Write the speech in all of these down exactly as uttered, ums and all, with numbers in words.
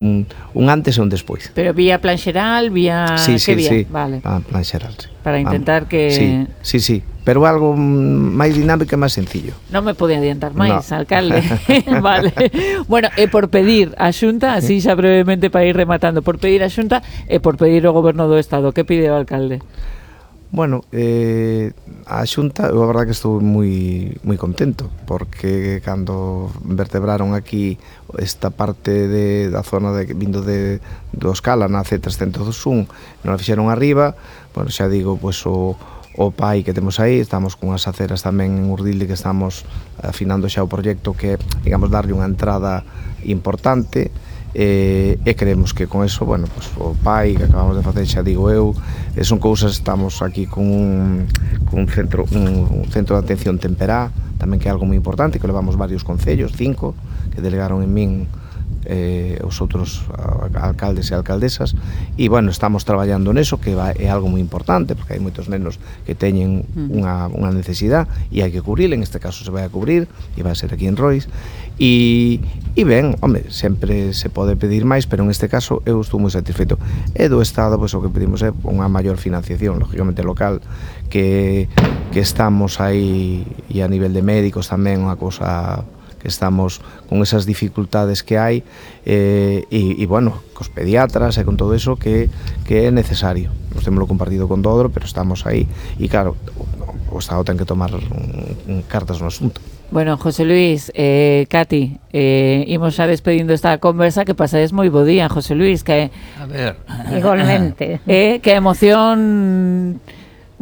un, un antes e un despois. Pero vía plan xeral, vía... Sí, sí, vía? sí, vale. plan, plan xeral, sí. Para intentar Vamos. que... Sí, sí, sí, pero algo máis dinámico e máis sencillo. Non me pode adiantar máis, no. alcalde. Vale. Bueno, e por pedir a Xunta, así xa brevemente para ir rematando, por pedir a Xunta e por pedir ao Goberno do Estado, que pide o alcalde? Bueno, eh, a Xunta, eu a verdade que estou moi moi contento, porque cando vertebraron aquí esta parte de, da zona de, vindo de, do Escala, na C trescentos un, non a fixeron arriba, bueno, xa digo, pois o, o P A I que temos aí, estamos con as aceras tamén en Urdilde, que estamos afinando xa o proxecto que, digamos, darlle unha entrada importante, e, e creemos que con eso, bueno, pues, o P A I que acabamos de facer, xa digo eu, e son cousas, estamos aquí con un, con un centro un, un centro de atención temperá, tamén que é algo moi importante, que levamos varios concellos, cinco, que delegaron en min eh, os outros alcaldes e alcaldesas, e bueno, estamos traballando neso, que va, é algo moi importante, porque hai moitos nenos que teñen unha, unha necesidade e hai que cubrir, en este caso se vai a cubrir e vai a ser aquí en Rois, e, e ben, home, sempre se pode pedir máis, pero en este caso eu estou moi satisfeito, e do Estado, pois o que pedimos é unha maior financiación, lógicamente local, que, que estamos aí, e a nivel de médicos tamén, unha cousa que estamos con esas dificultades que hai, eh, e, e bueno, cos pediatras e con todo eso que, que é necesario. Nos temos compartido con Dodro, pero estamos aí, e claro, o, o Estado ten que tomar un, un cartas no asunto. Bueno, José Luis, eh, Cati, eh, imos xa despedindo esta conversa, que pasades moi bo día, José Luis, que a ver, igualmente, eh, que emoción,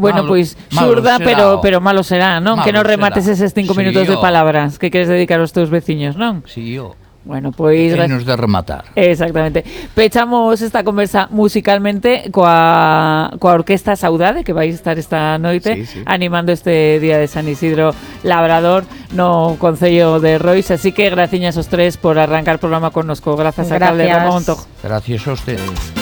bueno, malo, pois pues, malo xurda, pero será, pero malo será, non? Malo Que non remates será. eses cinco Sí, minutos de yo. palabras que queres dedicar aos teus veciños, non? Si, yo. Bueno, pois... E nos de rematar. Exactamente. Pechamos esta conversa musicalmente coa, coa Orquesta Saudade, que vai estar esta noite, sí, sí, animando este día de San Isidro Labrador no Concello de Rois. Así que graciñas os tres por arrancar o programa connosco. Grazas, alcalde Ramón Montojo. Gracias a ustedes.